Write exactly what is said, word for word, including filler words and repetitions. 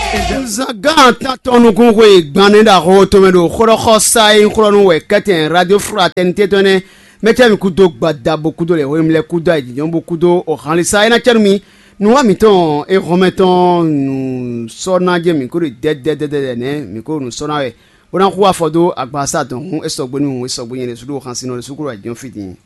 Zangán tantɔn nukúnxwe gban nɛ́ ɖo axó tɔn mɛ ɖo xóɖɔxɔsá e nyí xlɔ́nú wɛ kɛ́tɛn Radio Fraternité tɔn nɛ́. Mɛtɛ́ mi kúdó gbada bo kúdó lɛ hwenu lɛ kúdó ayǐjínjɔ́n bo kúdó ohanlisa e ná cɛ́ nú mi. Nǔwa mǐtɔn e hɔnmɛ tɔn nǔ sɔ́ ná jɛ́n mǐ kó ɖo dɛ́dɛ́dɛ́dɛ́ nɛ́ mǐ kó ɖo nǔ sɔ́ ná wɛ, bó ná xú afɔ dó agbaza dɔn hǔn é sɔgbe nú hǔn é sɔgbe nyɛ ɖésú ɖo xansinnɔ ɖésú kó ɖo ayǐjínjɔ́n fí din.